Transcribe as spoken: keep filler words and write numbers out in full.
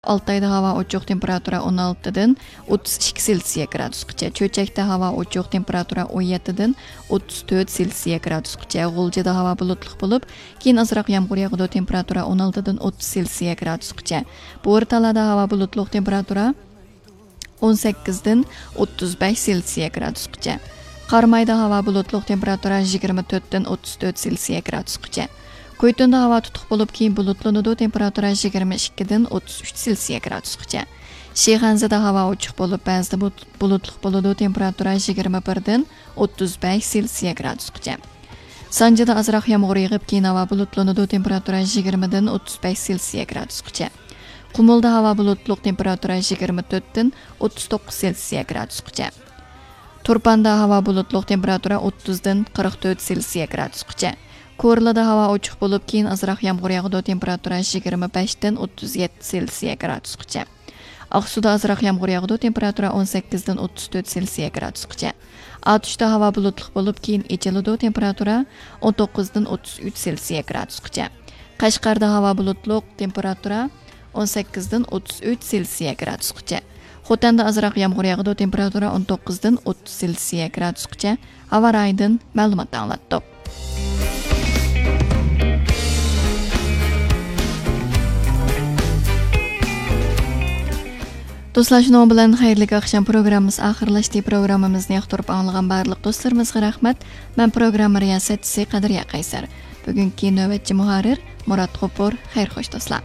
ئالتايدا ھاۋا ئوچۇق، تېمپېراتۇرا ئون ئالتىدىن ئوتتۇز ئىككى سېلسىيە گرادۇسقىچە. چۆچەكتە ھاۋا ئوچۇق، تېمپېراتۇرا ئون يەتتىدىن ئوتتۇز تۆت سېلسىيە گرادۇسقىچە. غۇلجىدا ھاۋا بۇلۇتلۇق بولۇپ، كېيىن ئازراق يامغۇر ياغىدۇ، تېمپېراتۇرا ئون ئالتىدىن ئوتتۇز سېلسىيە گرادۇسقىچە. بورتالادا ھاۋا بۇلۇتلۇق، تېمپېراتۇرا ئون سەككىزدىن ئوتتۇز بەش سېلسىيە گرادۇسقىچە. قارامايدا ھاۋا بۇلۇتلۇق، تېمپېراتۇرا يىگىرمە تۆتتىن ئوتتۇز تۆت سېلسىيە گرادۇسقىچە. كويتۇندا ھاۋا تۇتۇق بولۇپ، كېيىن بۇلۇتلىنىدۇ، تېمپېراتۇرا يىگىرمە ئىككىدىن ئوتتۇز ئۈچ سېلسىيە گرادۇسقىچە. شىخەنزىدە ھاۋا ئوچۇق بولۇپ، بەزىدە بۇت-، بۇلۇتلۇق بولىدۇ، تېمپېراتۇرا يىگىرمە بىردىن ئوتتۇز بەش سېلسىيە گرادۇسقىچە. سانجىدا ئازراق يامغۇر يېغىپ، كېيىن ھاۋا بۇلۇتلىنىدۇ، تېمپېراتۇرا يىگىرمىدىن ئوتتۇز بەش سېلسىيە گرادۇسقىچە. قۇمۇلدا ھاۋا بۇلۇتلۇق، تېمپېراتۇرا يىگىرمە تۆتتىن ئوتتۇز توققۇز سېلسىيە گرادۇسقىچە. تۇرپاندا ھاۋا بۇلۇتلۇق، تېمپېراتۇرا ئوتتۇزدىن قىرىق تۆت سېلسىيە گرادۇسقىچە. كورلىدا ھاۋا ئوچۇق بولۇپ، كېيىن ئازراق يامغۇر ياغىدۇ، تېمپېراتۇرا يىگىرمە بەشتىن ئوتتۇز يەتتە سېلسىيە گرادۇسقىچە. ئاقسۇدا ئازراق يامغۇر ياغىدۇ، تېمپېراتۇرا ئون سەككىزدىن ئوتتۇز تۆت سېلسىيە گرادۇسقىچە. ئاتۇشتا ھاۋا بۇلۇتلۇق بولۇپ، كېيىن ئېچىلىدۇ، تېمپېراتۇرا ئون توققۇزدىن ئوتتۇز ئۈچ سېلسىيە گرادۇسقىچە. قەشقەردە ھاۋا بۇلۇتلۇق، تېمپېراتۇرا ئون سەككىزدىن ئوتتۇز ئۈچ سېلسىيە گرادۇسقىچە. خوتەندە ئازراق يامغۇر ياغىدۇ، تېمپېراتۇرا ئون توققۇزدىن ئوتتۇز سېلسىيە گرادۇسقىچە. ھاۋا رايىدىن مەلۇمات ئاڭلاتتۇق. دوستلار، شۇنىڭ بىلەن خەيرلىك ئاخشام پروگراممىسى ئاخىرلاشتى. پروگراممىمىزنى ياقتۇرۇپ ئاڭلىغان بارلىق دوستلىرىمىزغا رەھمەت. مەن پروگرامما رىياسەتچىسى قەدرىيە قەيسەر. بۈگۈنكى نۆۋەتچى مۇھەررىر مۇرات غوپۇر. خەير خوش دوستلار.